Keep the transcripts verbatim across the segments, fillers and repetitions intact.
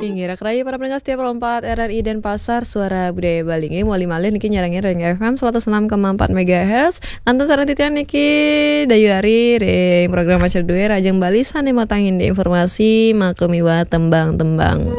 Inggih, raka rayi para pendengar setia Pro empat R R I Denpasar, Suara Budaya Bali. Inggih, malih-malih niki nyarengin ring F M seratus enam koma empat megahertz. Kantun sareng titiang niki Dayu Ari ring program Maca Dué, Rahajeng Bali sané matang indik informasi, maka miwah tembang-tembang.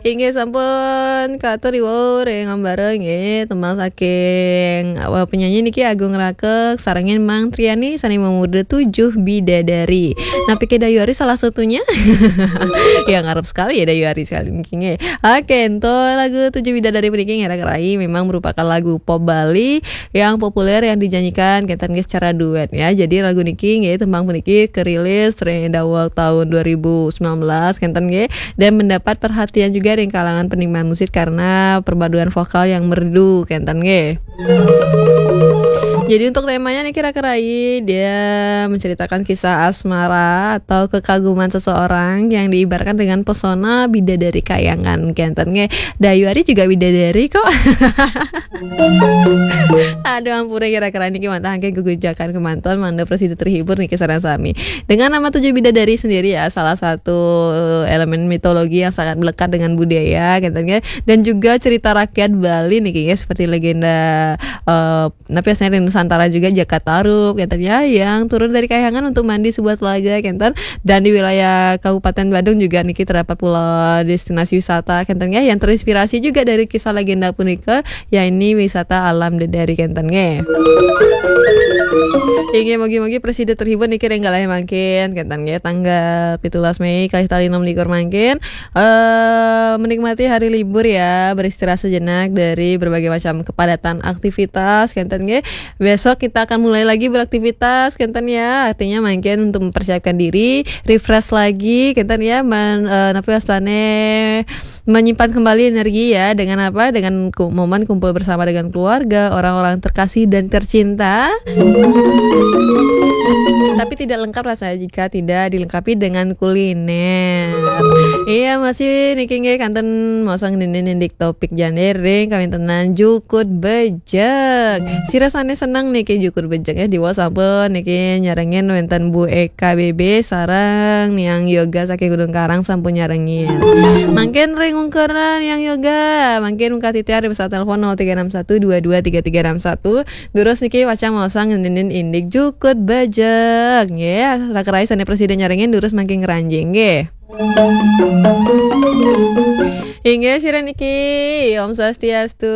Inggih sampun katur iwau ring ambara nggih, tembang saking, eh, penyanyi niki Agung Rakek sarengin Mang Triani sané mamurda Tujuh Bidadari. Napi ké Dayu Ari salah satunya? Ya, ngarep sekali ya Dayu Ari sekali niki nggih. Oke, untuk lagu Tujuh Bidadari puniki nggih raka rayi memang merupakan lagu pop Bali yang populer yang dinyanyikan kénten nggih secara duet ya. Jadi lagu niki nggih tembang puniki kerilis ring daweg tahun dua ribu sembilan belas kénten nggih dan mendapat perhatian juga ring kalangan penikmat musik karena perpaduan vokal yang merdu kénten nggih. Jadi untuk temanya niki raka rayi dia menceritakan kisah asmara atau kekaguman seseorang yang diibaratkan dengan pesona bidadari kayangan kénten nggih. Dayu Ari juga bidadari kok. Aduh ampura, kira-kira niki mantahaken gegujakan kemanten mangda prasida terhibur niki sareng sami. Dengan nama Tujuh Bidadari sendiri ya, salah satu elemen mitologi yang sangat melekat dengan budaya, gitu kan. Dan juga cerita rakyat Bali niki ya, seperti legenda, eh, napi asané ring Nusantara juga, Jaka Tarub, gitu ya, yang turun dari kayangan untuk mandi sebuah telaga, gitu. Dan di wilayah Kabupaten Badung juga niki terdapat pula destinasi wisata, gitu ya, yang terinspirasi juga dari kisah legenda punika, ya ini wisata alam dedari, gitu nggih. Inggih, mugi-mugi prasida terhibur niki ring galah mangkin, kénten nggih, tanggal pitulas Mei kalih tali enam likur mangkin. Eh, menikmati hari libur ya, beristirahat sejenak dari berbagai macam kepadatan aktivitas, kénten nggih. Besok kita akan mulai lagi beraktivitas, kénten ya. Artinya mangkin untuk mempersiapkan diri, refresh lagi, kénten ya, men, eh, napi wastané menyimpan kembali energi ya, dengan apa? Dengan ku-, momen kumpul bersama dengan keluarga, orang-orang terkasih dan tercinta. Tapi tidak lengkap rasanya jika tidak dilengkapi dengan kuliner. Iya, masih niki nggih kantun maosang ngenénin indik topik jani ring kawéntenan jukut bejek. Sira sané seneng niki jukut bejek ya, diwaos sampun niki nyarengin wénten Bu Eka B B sareng Niang Yoga saking Gunung Karang sampun nyarengin. Mangkin ring ungkuran Niang Yoga, mangkin ungkah titiang ring pesawat telepon nol tiga enam satu dua dua tiga tiga enam satu. Durus niki pacang maosang ngenénin indik jukut bejek. Nggih, raka rayi sané prasida nyarengin durus mangkin ngranjing nggih. Inggih, sira niki. Om Swastiastu.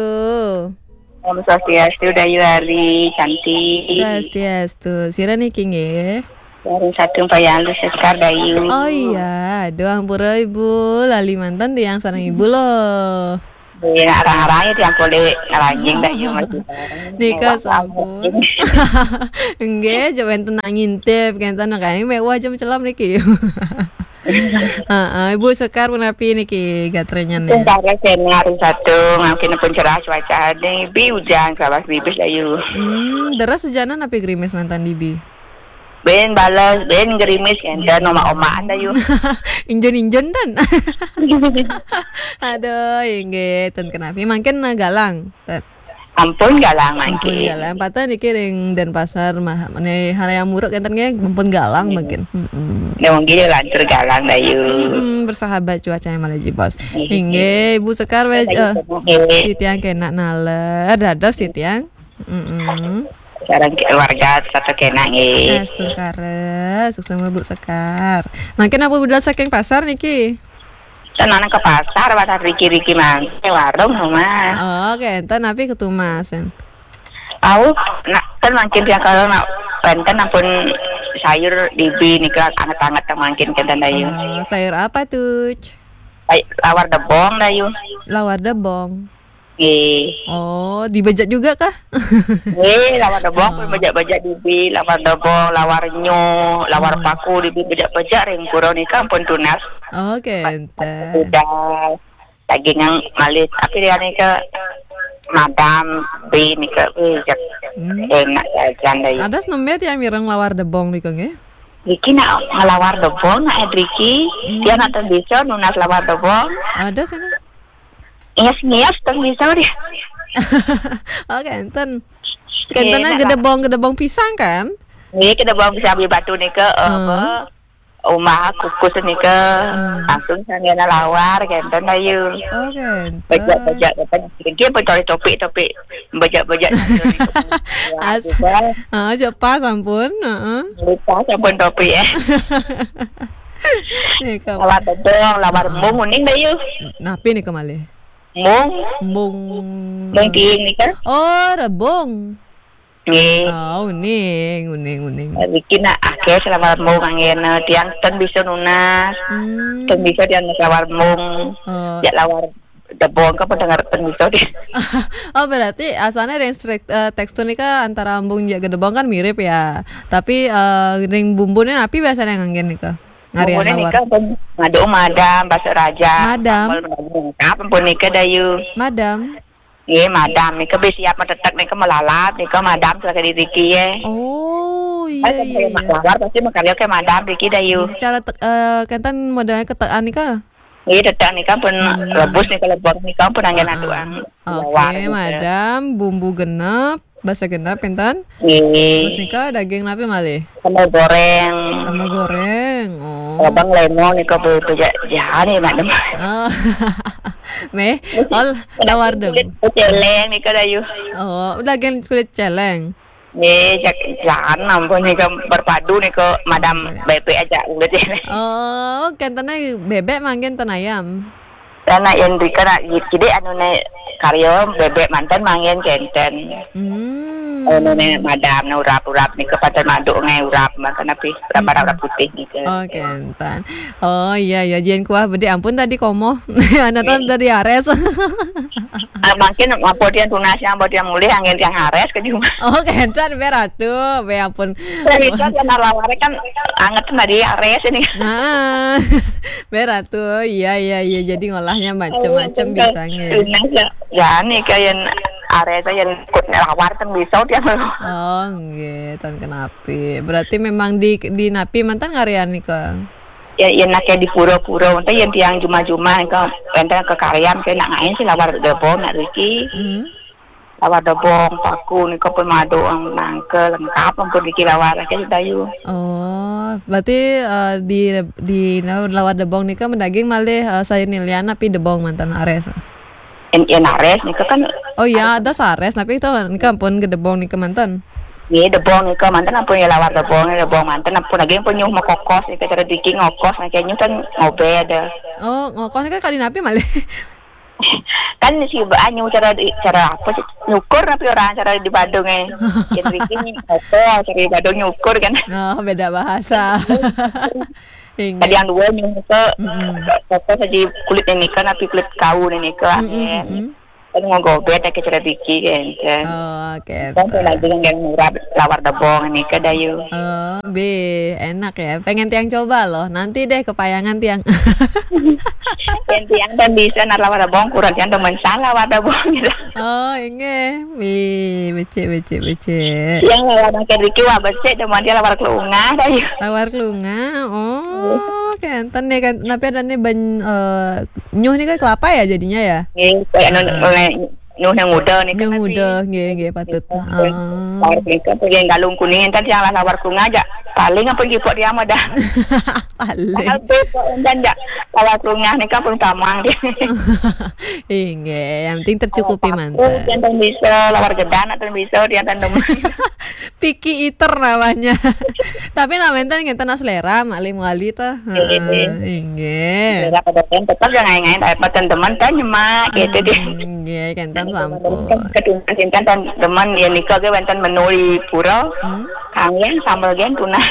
Om Swastiastu, Dayu Ari, cantik. Swastiastu. Sira niki nggih. Dari satu Payalu Sekar, Dayu. Oh iya, aduh ampura Ibu, lali manten tiang sareng Ibu loh. Iya, arang-arang ya tiang polih ngranjing, Dayu, masih bareng. Nika sampun. Nggih, aja wénten ngintip, kénten kaya mewah jam celam niki. Heeh, Ibu Sekar punapi niki gatranya nih? Sekar kéné hari Sabtu, mangkin pun cerah cuacané, bi ujan kalawas bibis, Dayu. Hmm, deres ujanan napi gerimis manten dibi? Bin bales, bin gerimis, kénten omak-omakan, Dayu. Injun-injun tan. Aduh, inggih, ten kenapi. Mangkin, eh, galang. Ten. Ampun galang mangkin. Ampun galang. Pateh niki ring Denpasar mah, né hal yang muruk kénten nggih, ampun galang mangkin. Mm-mm. Ya mungkin lantur galang, Dayu. Mm-mm, bersahabat cuacanya malah jebos. Inggih. Inggih, Ibu Sekar wé, Dayu, eh, seneng, nggih. Titiang kénak naler, dados titiang. Mm-mm. Sareng keluarga satu kénak nggih. Astungkara, suksma Bu Sekar. Mangkin ampun budal saking pasar niki? Ten nang ke pasar, pasar riki-riki mangkin, warung rumah. Oh, oke, ten napi ketumasan? Au, nak ten mangkin tiang kalau nak wénten ampun sayur dibi nika anget-anget mangkin kénten, Dayu. Oh, sayur apa tuh? Ay, lawar debong, Dayu. Lawar debong. Nggih. Oh, dibejek juga kah? Nggih, lawar debong pun bejek-bejek dibi, lawar debong, lawar nyo, lawar paku dibi bejek-bejek ring pura nika ampun tunas. Oke, enten. Udah daging yang malih, tapi dia nika madam bi nika bejek. Hmm. Enak jajan, Dayu. Ada senembé tiang mireng lawar debong nika nggih? Iki nak ngelawar debong, nak Edriki, dia nak ten bisa nunas lawar debong. Ada sana. Ngias-ngias ten bisa dia. Oh, kénten. Kénten gedebong, gedebong pisang kan? Nggih, gedebong pisang beli batu nika, eh, apa? Umah kukus nika, hmm, langsung sanggana lawar kenten, Dayu. Oh, kenten. Bejak-bejak kenten. Dia betul topik-topik bejak-bejak. As, ah, cepat sampun, heeh. Lupa sampun topik ya. Nika. Lawar debong, lawar, ah, mung uning, Dayu. Napi nika malih? Mung. Mung. Mung tiing nika. Oh, rebung. Nggih. Oh, uning, uning, uning. Niki nak akeh selawar mung anggena tiang ten bisa nunas. Hmm. Ten bisa tiang selawar mung. Oh. Ya lawar debong ke pendengar ten bisa dia. Oh, berarti asalnya ring strik-, eh, tekstur nika antara embung jak gedebong kan mirip ya. Tapi, eh, ring bumbune napi biasanya nganggen nika? Ngarian lawar. Bumbune nika pun ngadu madam, basa raja. Madam. Sambal madam. Apa pun nika, Dayu? Madam. Nggih, madam. Nika bih siap matetek nika malalap, nika madam selaku di riki ya. Oh, iya, iya, iya. Lawar pasti makarya ke madam riki, Dayu. Cara tek-, eh, kenten modelnya ketekan nika? Nggih, tetek nika pun, hmm, rebus nika, lebur nika pun anggen, ah, ah, aduan. Oke, lawar nika. Madam, bumbu genep, basa genep, pinten? Nggih. Terus nika daging napi malih? Sambal goreng. Sambal goreng, oh. Abang lemo nika be-, beja-, jahan ya, madam. Oh. Meh, ol, lawar debong. Kulit celeng nika, Dayu. Oh, daging kulit celeng. Nggih, jak-, jahan ampun nika berpadu nika madam. Oke. Bebek aja ulit ya. Oh, kentene bebek manggen ten ayam. Karena yang rika nak kidik anu ne karya bebek manten manggen kenten. Hmm. Anu ne madam ne urap-urap nika paten maduk ngai urap manten api urap, hmm, urap putih nika. Oh, kenten. Oh, iya, iya, jen kuah bedik ampun tadi komo. Anak tuan, nggih, tadi ares. Ah, mungkin apa dia tunas yang buat yang mulih angin yang ares ke cuma. Oh, kenten, be Ratu, be ampun. Saya itu kan lawar kan anget tadi ares ini. Nah, be Ratu, iya, iya, iya, jadi ngolahnya macem-macem. Oh, bisa nge. Tunas ya. Ya, nih kayak ares yang ikut lawar kan bisa dia. Oh, nggih, ten kenapi. Berarti memang di, di napi manten ngarian nika? Ya, yen akeh di pura-pura, enten yen tiang jumah-jumah, engko enten kekaryan, kena ngain sih lawar debong nak riki. Hmm. Lawar debong, paku, nika pun madu, nangka, lengkap ampun riki lawar, akeh Dayu. Oh, berarti, eh, di, di lawar debong nika mendaging malih, eh, sayur nilian api debong manten ares? Yen, yen ares nika kan. Oh iya, ada sares, tapi itu nika ampun gedebong nika manten. Nggih, debong nika manten ampun ya lawar debong, debong manten ampun lagi ampun nyuh mekokos nika cara diki ngokos nika nyuh kan ngobed. Oh, ngokos nika kali napi malih? Kan si ba-, nyuh cara di, cara apa sih? Nyukur tapi orang cara di Badung eh. Yen diki ngokos, cara di Badung nyukur kan. Oh, beda bahasa. Inggih. Tadi yang dua nyuh ke, mm-mm, ke, ke, ke, saji kulit ini kan, tapi kulit kau ini ke, mm-mm, angin. Mm-mm. Kan ngogobet ya, kecil diki, kan. Oh, oke. Kan saya lagi yang murah, lawar debong ini ke, Dayu. Oh, be, enak ya. Pengen tiang coba loh. Nanti deh kepayangan tiang. Yang tiang kan bisa, nak lawar debong, kurang tiang temen salah lawar debong gitu. Oh, inggih. Wih, becik, becik, becik. Yang lawar makan Riki, wah, becik, cuma dia lawar kelungah, Dayu. Lawar kelungah, oh, kenten nih kan. Tapi ada nih ban-, eh, nyuh nih kan kelapa ya jadinya ya? Nggih, kayak anu, heeh, oleh nyuh yang muda nih kan. Nyuh muda, nggih, nggih, patut. Heeh. Lawar kelungah, pergi galung kuning, entar yang lawar kelungah aja. Paling apa jipok dia mah dah. Paling. Mahal tuh, kok, entar aja. Lawar kelungah nih kan pun kamang dia. Inggih, yang penting tercukupi manten. Yang ten bisa, lawar gedang ten bisa, yang ten demen. Picky eater namanya. Tapi nak manten ngenten nak selera, Mak Lim Wali tuh. Heeh, inggih. Selera pada ten tetap yang ngain-ngain, tapi ten demen ten nyemak, gitu deh. Hmm, inggih, kenten sampun. Ketunas intan ten demen, ya nika ke wenten menu di pura. Hmm? Kangen sambal gen tunas.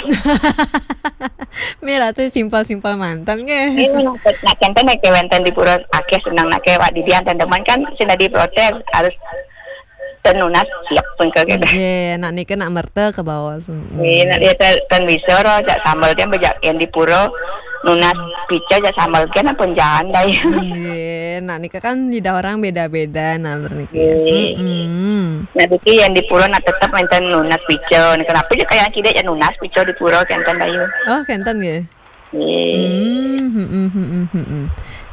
Mila tuh simpel-simpel manten, nggih. Iya, nak, nak kenten nek wenten di pura akeh seneng nak kewak di dian ten demen kan sing dadi protes harus ten nunas siap pun ke gitu. Nggih, nak nika nak merta ke bawah. Nggih, nak dia ten, ten bisa roh, jak sambal dia bejak yang di pura nunas pica jak sambal dia nak penjahan dah ya. Nggih, nak nika kan lidah orang beda-beda, nalur niki. Nggih. Mm-mm. Nah, niki yang di pura nak tetap manten nunas pica. Nah, kenapa je kayak tidak ya nunas pica di pura kenten, Dayu? Oh, kenten nggih. Nggih. Hmm, hmm, hmm, hmm, hmm, hmm.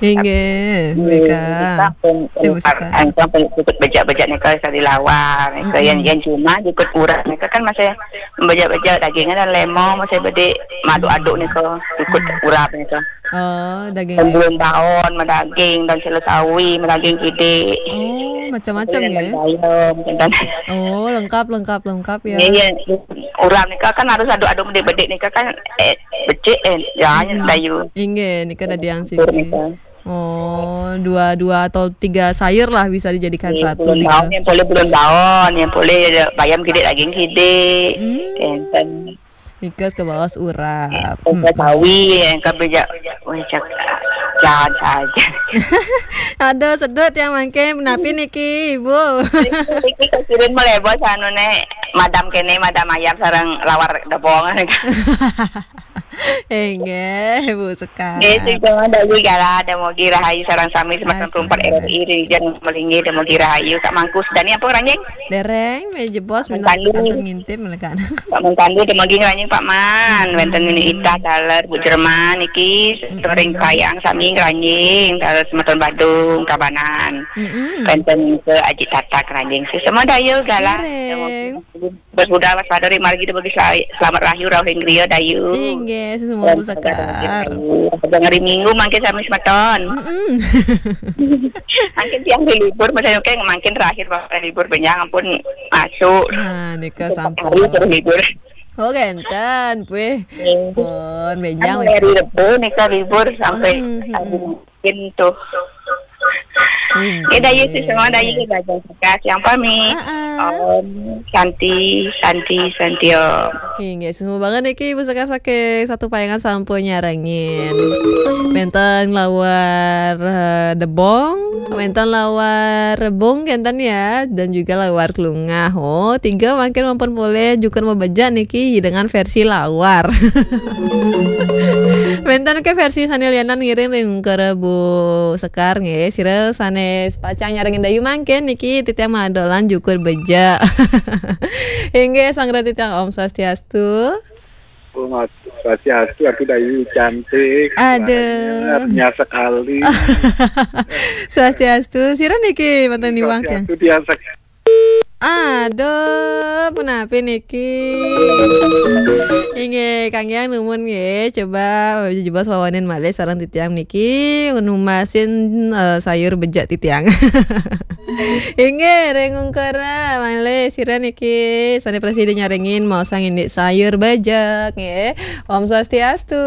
Inggih, hmm, mereka. Mereka pun, eh, mereka pun ikut bejak-bejak nika dari lawar, mereka yang, hmm, yang cuma ikut urap mereka kan masih bejak-bejak dagingnya dan lemong masih bedik maduk-aduk nika ikut, hmm, urap nika. Oh, daging. Dan belum baon, madaging, dan sila sawi, madaging kidik. Oh, macam-macam ya. Bayam, dan, oh, lengkap, lengkap, lengkap ya. Iya, iya. Urap nika kan harus aduk-aduk bedik-bedik nika kan, eh, becik, eh, ya, hmm, dayu. Inggih, nika dadi yang siki. Nika. Oh, dua, dua atau tiga sayur lah bisa dijadikan satu nika. Yang boleh belum baon, yang boleh bayam kidik, daging kidik. Hmm. Enten. Nika ke baos urap. Enten sawi, yang ke bejak, weh, cak, jahat saja. Aduh, sedut yang mangke, menapi niki, Ibu? Niki kasirin melebos anu ne, madam kene, madam ayam sareng lawar debong. Inggih, Bu Sekar. Nggih, sing cuma dayu gala, demogi rahayu sareng sami semeton. Asik. Rumput R R I, ring jan melingi, demogi rahayu. Kak Mangkus, Dani ampun ranjing? Dereng, meja bos, Mantandu. Minta kantun ngintip, melekan. Pak Mantandu, demogi ranjing, Pak Man. Hmm. Wenten Nini Ita, daler, Bu Jerman, iki, mm-mm, sering kayang, sami ranjing, daler semeton Badung, Tabanan. Mm-mm. Wenten ke Aji Tata ranjing. Semua dayu gala. Dereng. Demogi Bos Buda, Mas Padori, margi demogi sel-, selamat rahayu, rauh ing griya dayu. Inggih, suksma Bu Sekar. Dengeri Minggu mangke sami semeton. Mm-mm. Mangkin tiang libur, maksudnya kayak mangkin terakhir Bapak libur, benjang ampun masuk. Nah, nika sampun. Hari terus libur. Oh, genten, weh. Nggih. Pun, benjang, kan weh. Hari Rebo nika libur sampai, mm-mm, hari Pintu. Inggih. Kita Yesus semua ada Yesus belajar sekat yang pami. Heeh. Om Santi, Santi, Santi Om. Inggih, semua banget niki Ibu Sekar saking Satu Payangan sampun nyarengin. Wenten lawar, eh, debong, wenten lawar rebung kenten ya, dan juga lawar kelungah. Oh, tiga mangkin mampun boleh juga mau beja niki dengan versi lawar. Wenten ke versi sane lianan ngiring ring kere Bu Sekar nggih. Sira sane pacang nyarengin dayu mangkin niki titiang madolan jukur beja. Inggih, sanggra titiang Om Swastiastu. Om Swastiastu, aku dayu cantik. Aduh. Suaranya artinya sekali. Swastiastu. Sira niki manten niwang tiang. Swastiastu, tiang sek- Aduh, punapi niki? Inggih, kangge numun nggih. Coba jebos wawanin malih sareng titiang niki, numasin, eh, sayur bejak titiang. Inggih, ring ungkara malih sira niki sane prasida nyarengin maosang indik sayur bejak nggih. Om Swastiastu.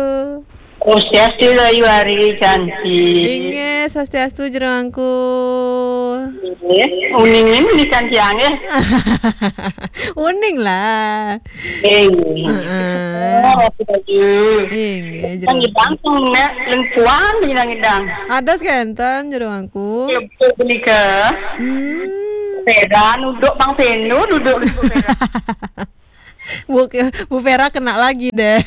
Om Swastiastu, Ayu Ari cantik. Inggih, Swastiastu jero angku. Nggih, uning ini cantik nggih. Uning lah. Nggih. Heeh. Oh, aku baju. Inggih, jero. Kan ngidang tuh nek lempuan ngidang-ngidang. Ados kenten jero angku. Lebur punika. Hmm. Sepeda nuduk Bang Penu, duduk di sepeda. Bu, Bu Vera kena lagi deh.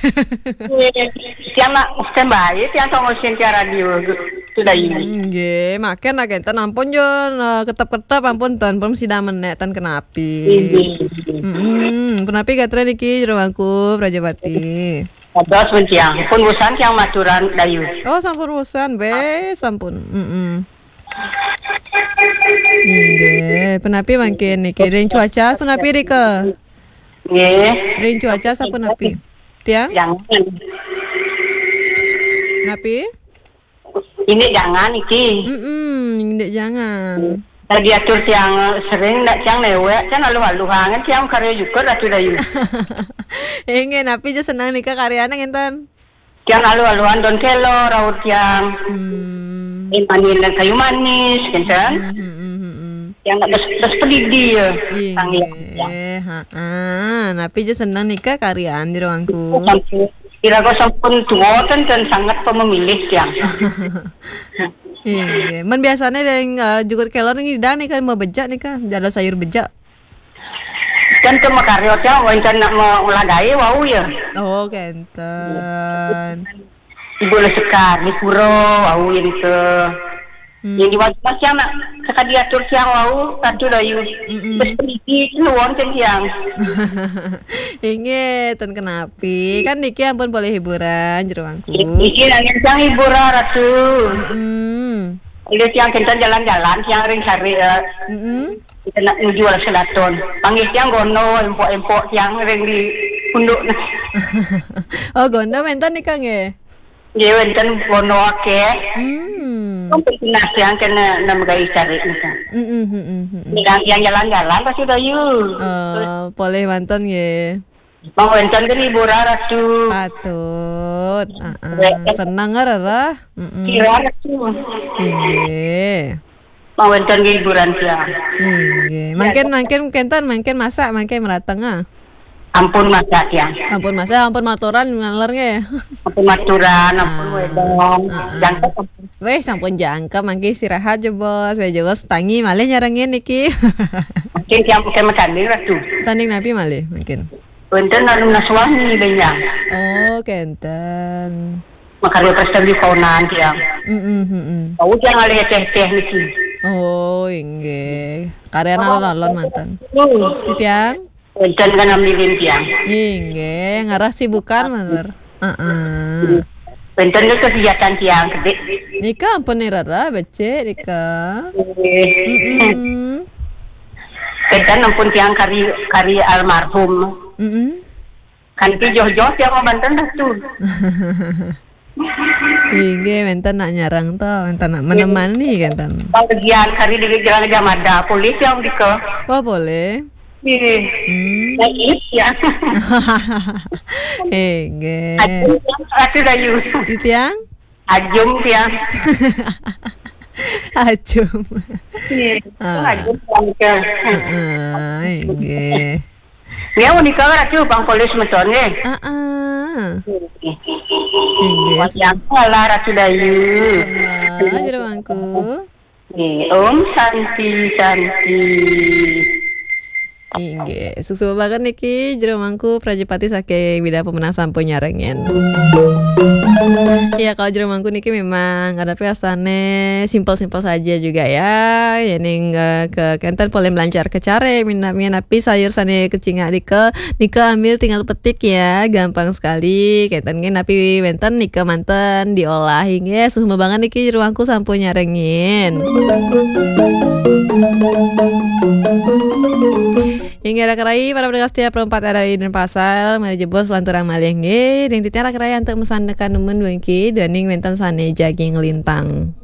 Iya. Tiang nak standby, tiang tunggu Cynthia radio tu dah ini. Hmm, nggih, makan nak kenten ampun jo, eh, ketep-ketep ampun ten, pun sida menek ten kenapi. Iya. Hmm, kenapi gatra niki jero angku Prajapati. Ados pun tiang, pun bosan tiang maturan dayu. Oh, sampun bosan, be, sampun. Mm-mm. Inggih, penapi mangkin niki ring cuaca, penapi rika? Nggih. Ring cuaca sapunapi? Tiang? Jangan. Napi? Ini jangan iki. Mm-mm, indik jangan. Lagi atur tiang sering ndak tiang newek, kan aluh-aluh angen tiang karya juga Ratu Dayu. Inggih, napi je senang nika karyane ngenten? Tiang aluh-aluhan don kelo, raut tiang. Hmm. Imanin dan kayu manis, kenten. Hmm, hmm, hmm, hmm, hmm. Tiang nak bes-, bes pedidi ya, sang yang. Inggih, ha, ha. Napi je senang nika karyan di ruangku. Sampai, kira kau sampun tua, kenten, sangat pememilih tiang. Inggih. Men biasane deng, eh, jugut kelor ni dah nika, mau bejak nika, jada sayur bejak. Kan ke makarya tiang, wau intan nak ma-, mauladae wau ya. Oh, kenten. Ibu le sekar, di pura, wau yang ke. Hmm. Yang di wajah tiang nak sekadi atur tiang wau, Ratu Dayu. Mm-mm. Bes pendidik, nuwun ten tiang. Inggih, ten kenapi. Kan niki ampun boleh hiburan, jero angku. Niki nanging tiang hiburan, Ratu. Mm-mm. Oleh tiang kenten jalan-jalan, tiang ring sare, eh, Mm-mm. Kita nak nuju arah selaton. Panggih tiang gono, empok-empok tiang ring di punduk nah. Oh, gono wenten nika nggih? Nggih, wenten gono akeh. Hmm. Sampai tunas tiang kena nama gai sare nika. Mm-mm, mm-mm, mm-mm. Yang, yang jalan-jalan pasti dayu. Oh, polih wenten nggih. Mang wenten kan hiburan Ratu. Patut. Heeh. Senang rereh. Mm-mm. Kira Ratu. Inggih. Mang wenten hiburan tiang. Inggih. Mangkin, mangkin kenten, mangkin masak, mangkin merateng ah. Ampun masak tiang. Ampun masak, ampun maturan ngaler nggih. Ampun maturan, ampun ah, wedong. Ah, ah. Jangkep. Weh, sampun jangkep, mangkin istirahat jebos. Weh jebos tangi malih nyarengin niki. Mungkin tiang bukan matanding Ratu. Tanding napi malih mungkin. Wenten anu naswani benyang. Oh, kenten. Makarya prestasi kaunan tiang. Mm-mm, mm-mm. Tahu tiang alih teh-teh niki. Oh, inggih. Karya alon-alon manten. Hmm. Titiang? Wenten kan ambilin tiang. Inggih, ngarah sibukan manten. Heeh. Wenten ke kegiatan tiang kedik. Nika ampun nirara becik nika. Inggih. Mm-mm. Kenten ampun tiang kari, kari almarhum. Mm-mm. Kanti joh-joh tiang mau banten dah tu. Inggih, wenten nak nyarang to, wenten nak menemani kenten. Bagian kari di jalan jamada, polih tiang dika. Oh, polih. Inggih. Hmm. Baik, ya. Inggih. Ajum tiang, Ratu Dayu. Titiang? Ajum tiang. Ajum. Iya. Ah. Ajum tiang ke. Heeh, inggih. Ya, unika Ratu pang polih semeton nggih. Heeh. Inggih. Wayang salah Ratu Dayu. Sembah, jero mangku. Nggih, Om Santi, Santi. Inggih, suksma banget niki jero mangku Prajapati saking Bidang Pemenang sampun nyarengin. Ya, kalau jero mangku niki memang ada piasane simpel-simpel saja juga ya. Yening, eh, ke kenten polih melancar ke care, minat-minat napi sayur sane kecingak nika, nika ambil tinggal petik ya, gampang sekali. Kenten nggih napi wenten nika manten diolah nggih. Suksma banget niki jero mangku sampun nyarengin. Inggih raka rai, para pendengar setia Pro empat R R I Denpasar, mari jebos lanturang malih nggih. Ring titiang raka rai antuk mesan tekan numun dugi, daning wenten sane jagi nglintang.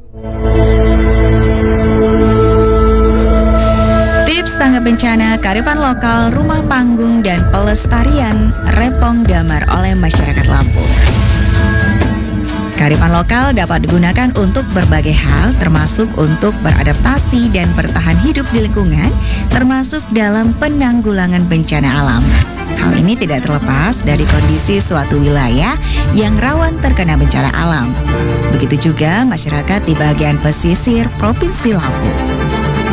Tips tanggap bencana, kearifan lokal, rumah panggung, dan pelestarian Repong Damar oleh masyarakat Lampung. Kearifan lokal dapat digunakan untuk berbagai hal, termasuk untuk beradaptasi dan bertahan hidup di lingkungan, termasuk dalam penanggulangan bencana alam. Hal ini tidak terlepas dari kondisi suatu wilayah yang rawan terkena bencana alam. Begitu juga masyarakat di bagian pesisir Provinsi Lampung.